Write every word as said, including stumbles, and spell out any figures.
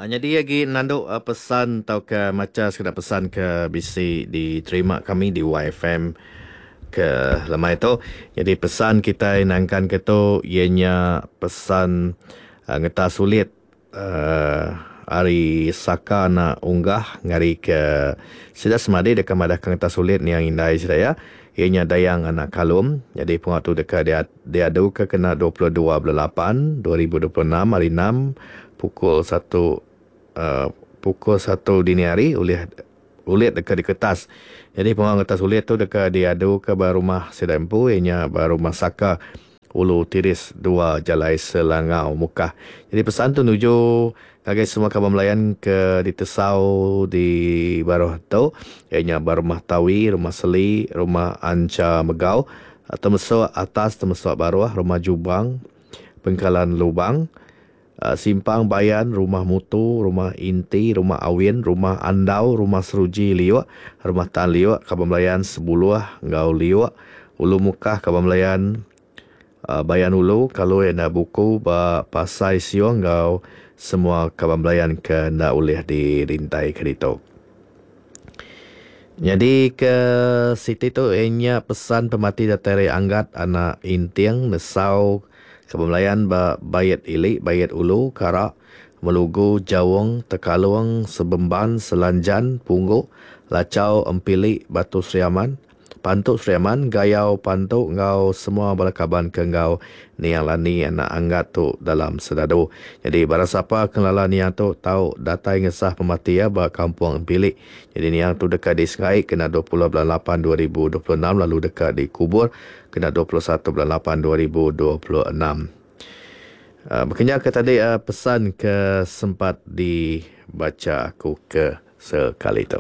Nyadi agi nandu pesan tauka macha sekeda pesan ke bisi diterima kami di Y F M ke lemai tu. Jadi pesan kitai nangkan ke tu iya nya pesan uh, ngetas sulit uh, ari Saka anak Unggah ngari ke sida semadi deka madah ke ngetas sulit niang indai sida ya. Iya nya Dayang anak Kalum. Jadi pengawa tu deka diadu ke kena dua puluh dua bulan lapan dua ribu dua puluh enam hari enam pukul satu uh, pukul satu dini hari ulih ulit deka diketas. Jadi pengawa ngetas ulit tu deka diadu ke ba rumah sida empu iya nya ba rumah Saka Ulu Tiris dua Jalai Selangau Mukah. Jadi pesan tu nuju ngagai semua kaban belayan ke ditesau di baruh tu iya nya ba rumah Tawi, rumah Seli, rumah Ancha Megau, Temesuk Atas, Temesuk Baruh, rumah Jubang, Pengkalan Lubang, Simpang Bayan, Rumah Mutu, Rumah Inti, Rumah Awin, Rumah Andau, Rumah Seruji Liuk, Rumah Tan Liuk, Kaban Belayan Sebuluh enggau Liuk, Ulu Mukah, Kaban Belayan Bayan Ulu, Kalui enda buku ba Pasai Siong enggau semua kaban belayan ke enda ulih dirintai ke ditu. Jadi ke siti tu ianya pesan pemati datai ari Anggat anak Inting nesau kaban belayan ba Bayat Ili, Bayat Ulu, Karak, Melugu, Jaung, Tekalung, Sebemban, Selanjan, Pungguk, Lacau, Empili, Batu Sri Aman, Pantu Sri Aman, Gayau Pantu enggau semua bala kaban ke enggau Niang Lani anak Anggat tu dalam sedadu. Jadi barang siapa ke ngelala Niang tu tau datai ngesah pemati iya ba kampung Empili. Jadi Niang tu deka disengai kena dua puluh bulan lapan dua ribu dua puluh enam lalu deka dikubur kena dua puluh satu bulan lapan dua ribu dua puluh enam. Uh, berkenya ke tadi uh, pesan ke sempat dibaca aku ke sekali tu.